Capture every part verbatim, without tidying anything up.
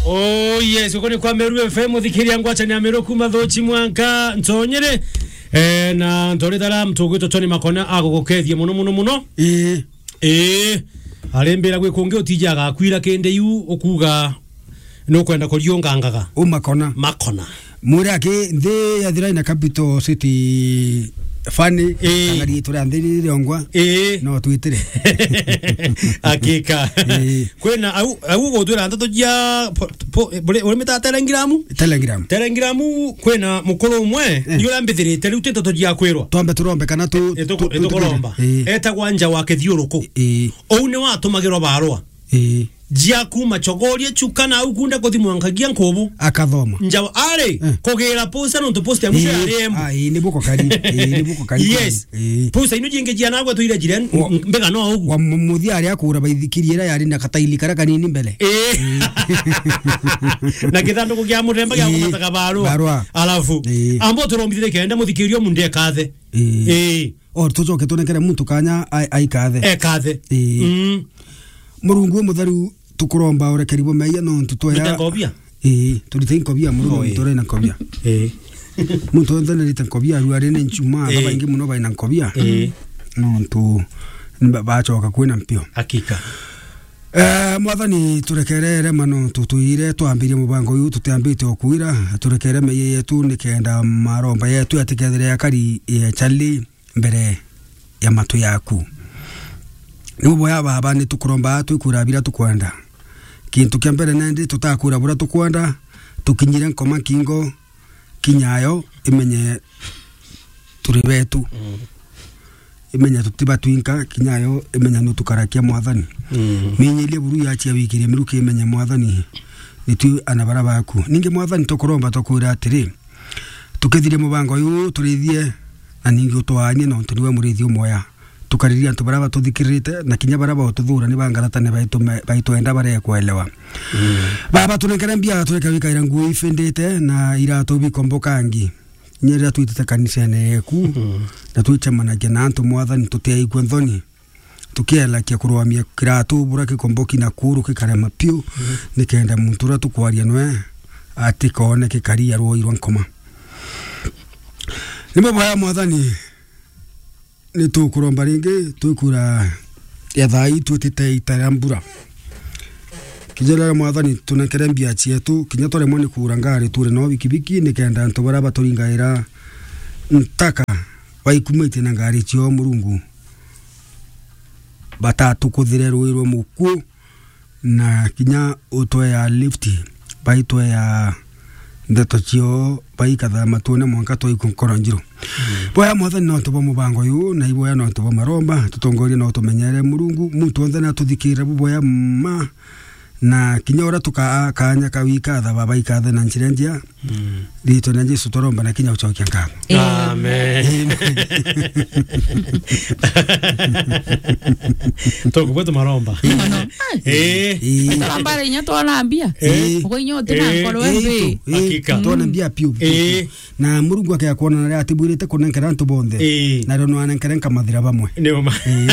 Oh yes, uko ni kwa Meru F M, uthikiria ngwacha ni Ameru kuma Thochi mwanka Ntonyere. Eh, na ntori tara mtugwito Tony Makona agugukethia muno, muno, muno. Ii. Ii. Arembira gwi kungi utija agakwira kindi yu ukuga nukwenda kuriungangaga. U Makona. Makona. Mwire aki nthi ya Thirai na Capital City Fani, ii, kana riitwa ria nthi ririongwa, ii, no twitire. Hakika. Ii. Kwina au, au gutwira ndeto jia po-, po-, bure-, urimita Telegram? Telegram. Telegram kwina mukuru umwe, eh, ni uria mbithirite, riu ti ndeto jia kwirwa. Twambe turombe kana tu-, eh, tuku-, tu-, tu-, itukuromba. Ii. Etagwa Nja wa Kithiuruku. Ii. Ou ni watumagirwa barua. Ii. Jia kuma Chogoria, Chuka na au kunde kuthi Mwankagia Nkubu. Akathoma. Nja wa-, ari, eh, kugira posta nontu posta ya mwisho, ii, yari embu. Ah, ii, ni buko kari. Ii, ni buko kari. Yes. Ii. Posta ino jingi jia nagwe tuire jiren, wa-, m-, mbega no ugu. Wa mu-, muthia ari akura baithikiri ira yari na kataili kara kanini mbele. Ii. Ii. Na kithanduku kia muthemba gia, ii, kumataga barua. Barua. Alafu, ii, ambo turombithire kenda muthikirio mundu ekathe. Ii. Ii. O, tucoke tunengere muntu kanya ai-, aikathe. Ekathe. Ii. Mm. Murungu umutheru, tukuromba urekeri bwa meeyia nontu tweya. Rita nkobia? Ii, turite nkobia, Murungu, oi, nontu uri na nkobia. Ii. Muntu wonthe narite nkobia, aruari ni nchuma, ii, babaingi muno baina nkobia. Ii. Nontu ni ba-, bacoka kwina mpio. Hakika. Eh, Mwathani, turekerere mano tutwire, twambirie mubango uyu tutiambite o kwira, turekere meeyia yetu nikenda maromba yetu yatikethire yakari, eh, chali mbere ya matu yaku. Ni buboya, Baba, ni tukuromba twikwira bira tukwenda. Kintu kia mbere nendi tutakwira bura tukwenda, tukinyire nkoma nkingo, kinyayo imenye turi betu. Mm. Imenye tutiba twinka, kinyayo imenye nutukarakia, Mwathani. Mm. Minyirie buru yachia wikirie miruki imenye, Mwathani. Nitu ana bara baku. Ningi, Mwathani, tukuromba tukwira atiri, tukithirie mubango uyu, turithie, na ningi utwaanie, nontu niwe murithi umwea. Tukariria antu baria batuthikiririte, na kinya baria baututhuura ni bangaratane baitu me-, baitwenda baria ekuelewa. Mm. Baba, tunengere mbia, tureke wikaira nguo ifindite, na iratu bikombokangi. Kinya riria twitite kanisene yeku, mm, na twicemanagia na antu, Mwathani, tutiaigua nthoni. Tukielakia kurugamia kiratu bura kikomboki na kuru kikarema piu, mm, nikenda muntu uria tukwaria nwe atikoone kikari ya rwoi rwa nkoma. Ni muboya, Mwathani, ni tukuromba ringi, twikwira ya thaa ii twitite ita ria mbura. Kinya riria, Mwathani, tunengere mbia cietu, kinya twaremwa ni kugura ngari, turi no bikibiki, nikenda antu baria baturingaira ntaka baikumitie na ngari ciao, Murungu, batatukuthire rui rwa mukuo, na kinya utwea lift, baitwea ndeto ciao, baikatha matune mwanka twaikua nkoro njiru. Mm. Boya, Mwathani, nontu bwa mubango uyu, na iboya nontu bwa maromba, tutongorie na utumenyere, Murungu, muntu wonthe natuthikirire buboya ma, na kinya uria tukaa kanya ka wikatha, Baba, ikathe na njira njia. Mm. Riitwa ria Jesu twaromba na kinya ucokia nkatho. Amen. Amen. Tokubwe tumaromba. Mono. Eh. Eh. Turomba ri inya twona mbia. Eh. Ugo inya uti na, eh, nkoro, eh, mbi. Itu, eh, hakika, twona mbia piu. Eh. Na Murungu akea kwona na riria atibwirite kunenkera antu bonthe. Ii. Na rio nwanenkere nkamathira bamwe. Ni uma. Ii.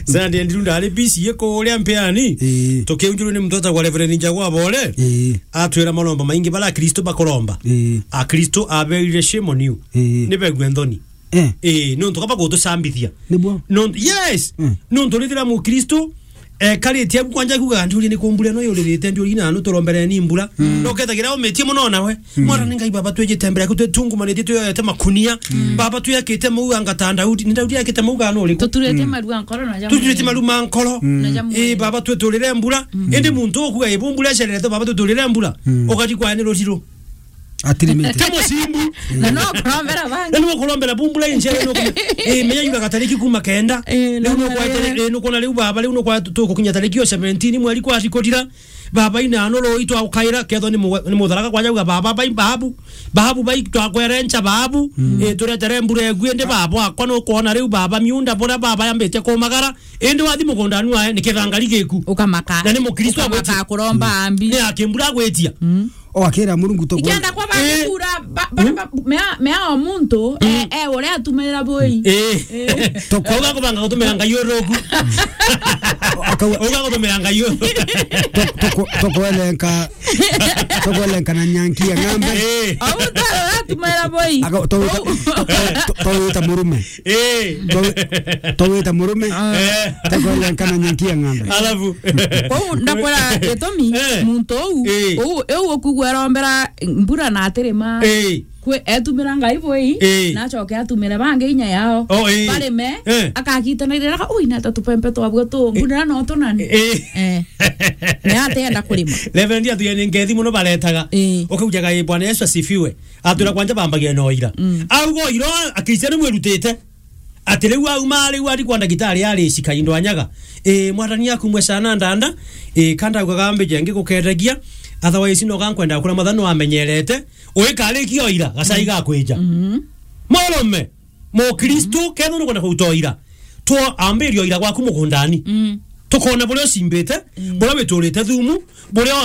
Sunday ndiru ndari busy ye kuria mpeani. Ii. Tukiunjurwe ni muntu etagwa Reverend Njagwa Bole. Ii. Atwira maromba maingi bara Akristo bakuromba. Ii. Akristo aberire shame on you. Ii. Ni begwe nthoni. Eh. Ii, nontu kaba gutucambithia. Nibwo? Nontu, yes. Mm. Nontu rithira Mukristo ekaritie abu kwanja kuga ndiuria ni kumbura no yuririte ndiuria na anu turombere ni mbura. Mm. No kethagira umitie muno nawe. Mm. Mwana ni Ngai, Baba, twijite mbere yaku, twitungumanitie, twiyoete makunia. Mm. Baba, twiyakite mauga ngata Daudi. Ni Daudi yakite mauga no uriku? Tuturite, mm, maru ma nkoro na jamu. Tuturite maru ma nkoro. Mm. Na jamu. Ii, Baba, tweturire mbura. Mm. Indi muntu ukuga ibu mbura ecererete, Baba, tweturire mbura. Mm. Ugathi kwa ni rutiro. Atirimite. Ti mucimbu. Na no kurombera bangi. Na no kurombera bumbura injere no ku-, eh, menya yuga gatariki kuma kenda. Eh, riu no kwa, eh, no kuona riu baba, riu no kwa tu-, tugukinya tariki yo seventeen mweri kwa rikotira. Baba ina no ro itwa ukaira ketho ni mu-, ni mutharaka kwa jauga baba bai babu. Babu bai twakwerencha babu. Mm. Eh, turetere mbura egwi ndi baba akwa no kuona riu baba miunda bura baba yambite kumagara. Indi wathi mugunda nua ni kithangari giku. Ukamaka. Na ni Mukristo. Ukamaka agwiti-, kuromba ambi. Ni akimbura agwitia. Mm. O akira Murungu tukwe- Ikienda kwa ba- Eh. kura, ba- ba- ba- mea- mea o muntu, eh, eh, uria atumirira bui. Eh. Eh. Tuko- Auga kubanga gutumira Ngai uruku. Akau- Auga gutumira Ngai uruku. Tu- tuko- tukwelenka- tukwelenka na nyanki ya ng'ombe. Eh. Au muntu uria atumirira bui. Aka- tu- tu- tu- tu- tuwita murume. Eh. Tu- tuwita murume. Eh. Tukwelenka na nyanki ya ng'ombe. Alafu. Kwou ndakwira gitumi, Eh. muntu uu, Eh. uu, uu ukugua arombera mbura na atirima. Eh. Kwi- etumira Ngai bui, Eh. na acoke atumire bangi inya yao. Oh, eh. Barime, Eh. akagitana irira, "Ui, nata tupempe twabua tu, mbura no tunani." Eh. Eh. Ni atienda kurima. Reverend atuye ni ngethi muno baretaga. Eh. Ukaujaga, "Ii, Bwana Yesu asifiwe." Atwira kwanja bambagia no ira. Mm. Auga ira, akristiano mwirutite. Ati riu auma riu ari kwa ndagitari ari cika indo anyaga. Ii, mwathani akumwe sana ndanda. Ii, kanda ugaga mbeje ngiguketegia. Otherwise no gankwenda kura matha no amenyerete. Uikarikia ira, gacai gakwija. Mm. Murume, mukristo, ketho nukwenda kuruta ira. Two ambirio ira gwaku mugundani. Mm. Tukona buria ucimbite, Mm. buria witurite thumu, buria